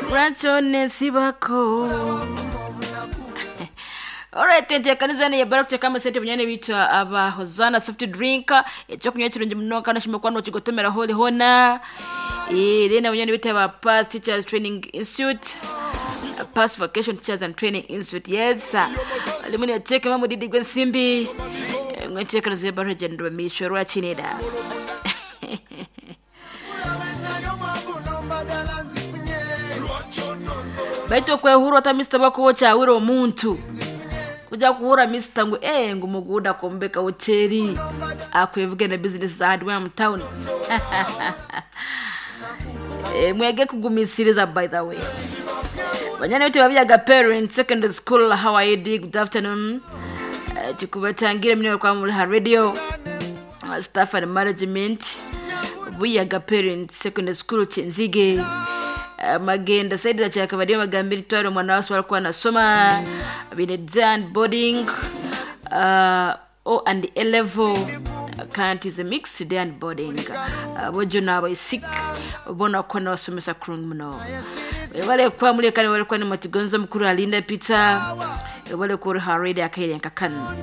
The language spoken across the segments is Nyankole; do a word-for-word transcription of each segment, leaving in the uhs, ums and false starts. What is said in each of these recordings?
Lwaki Alright, enteekaniza ne yabara kuteeka amasente bunyane bitu aba Hosanna soft drink ekyokunywa kirungi muno kandi oshima kuba nokigotomera holi hona. Eh, then bunyane bitu aba Pass Teachers Training Institute. Pass Vocation Teachers and Training Institute. Yes. Alimu neteeka mudidi gw'ensimbi. Mweteekaniza yabara jendwa misho rwakinira. Baitu okwehurwa ata Mister bakuba okyawira omuntu kuja kuhura Mister ngu eh ngu muguda kombeka hoteli akwevuga na business za hardware mu town. Eh, mwege kugumisiriza by the way. Banyana bitu babyaga parents secondary school, how are you doing? Good afternoon. Eh, tukubatangira mine kwa muri ha radio uh, staff and management Buyaga parents secondary school Kyenzige. Uh, magenda saidi za kyakabadiyo magambiri twari omwana wase walikuwa anasoma bine boarding uh, O and A level kanti is a mixed day and boarding. uh, bojo nabo sick bona ko nabasomesa kurungi muno bale kwa muri kane bale kwa ni matigonzo mukuru alinda Peter bale ko ha radio akaire nkakano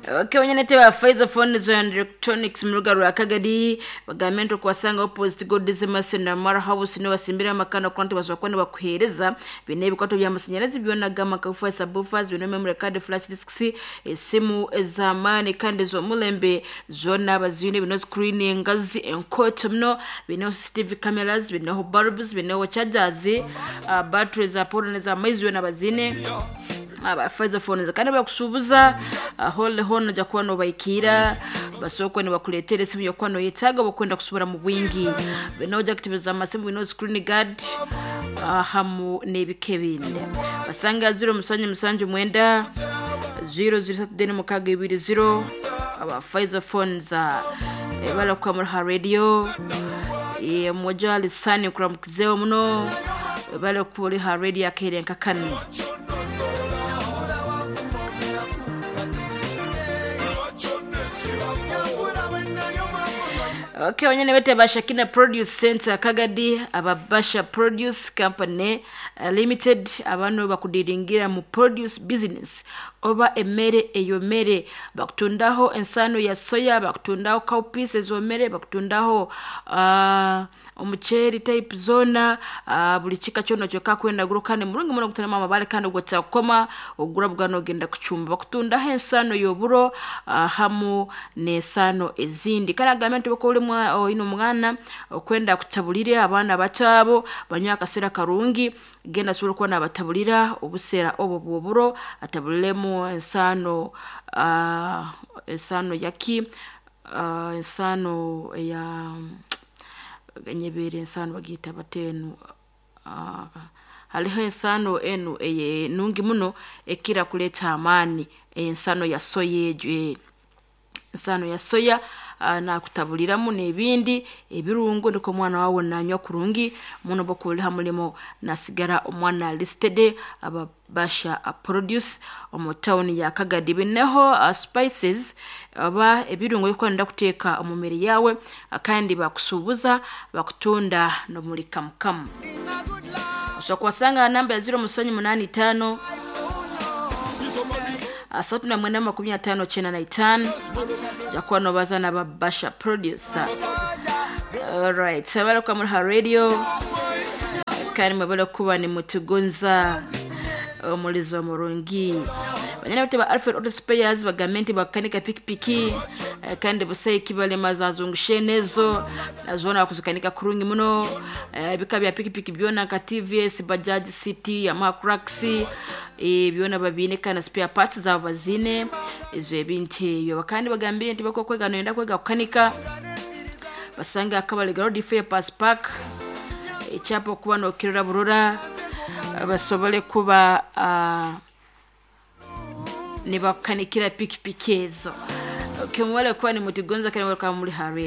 Okay, wenye ba Pfizer phones and electronics mu ruga rwa Kagadi bagambe nti okuwasanga opposite God's Mercy na Mara House no basimbira amakano konti basobola kuba bakuheereza bine ebikwato by'amasanyalazi byona gama kafufa subwoofers bino memory card, flash disks, esimu ez'amaani kandi ez'omulembe zonna bazine bino screen engazi enkoto muno bino C C T V cameras bino bulbs bino chargers, uh, batteries za power n'ez'amaizi byona bazine aba Pfizer phones kandi bakusuubuza hole hona ojja kuba nobaikira basooka nibakuleetera esimu yokuba noyetaaga oba kusubira mu bwingi bino ojja kutebeza amasimu bino screen guard uh, hamu n'ebika ebindi basanga zero musanju musanju mwenda zero zero satu deni mukaaga ibiri zero aba Pfizer phones uh, balakuka muri ha radio e, mmoja alisani kuramukizeho muno balakuri ha radio akaire nkakano. Okay, wanyene bete Bashakina Produce Center Kagadi ababasha Produce Company uh, Limited abano bakudiringira mu produce business oba emmere eyomere bakutundaho ensano ya soya, bakutundaho cowpeas ezomere, bakutundaho uh, omuceeri type zona, uh, buli kika kyona kyokka kwenda guro kandi murungi muno gutarama amabale kandi gwakyakoma ogura bugano ogenda kucumba bakutundaho ensano y'oburo uh, hamu n'ensano ezindi kandi agambe nti bako oli oyina omwana okwenda kutabulire abaana bato abo banywe akaseera karungi genda asobola okuba nabatabulira obuseera obwo bw'oburo atabuliremu ensaano uh, ensaano yaki uh, ensaano eya enyebeere ensaano bagiyita batenu uh, hariho ensaano enu enungi muno ekira kuleeta amaani ensaano ya soya egyo ensaano ya soya uh, nakutabuliramu n'ebindi ebirungo niko omwana wawe nanywa kurungi muno bokuliha mulimo nasigara omwana listed aba Basha uh, Produce omu town ya Kagadi bineho uh, spices oba ebirungo ebyokwenda kuteeka omu mmere yawe uh, kandi bakusuubuza bakutunda n'omuri kamukamu osobola kubasanga namba ya zero musanju munani itaano asatu na mwenda makumi atano chenda na itano jakuwa nobaza na Babasha Producer. Alright, sabala kwa muri ha radio kandi mwabala kuba ni mutugonza omulizo murungi banyana bate ba Alfred Auto Spares bagambe nti bakanika pikipiki eh, kandi busayi kibalema zazungushe nezo zona bakuzikanika kurungi muno eh, ebika bya pikipiki byona nka T V S, Bajaj City, Yamaha Crux eh, byona babine kandi spare parts zabo bazine ezo ebintu ebyo kandi bagambire nti bakokwega noyenda kwega kukanika basanga akabale road fair pass park ekyapa okuba nokirora burora basobole kuba uh, nibakukanikira pikipiki ezo. Okay, mwale kuba ni mutigonza kandi mwale kuba muri ha radio.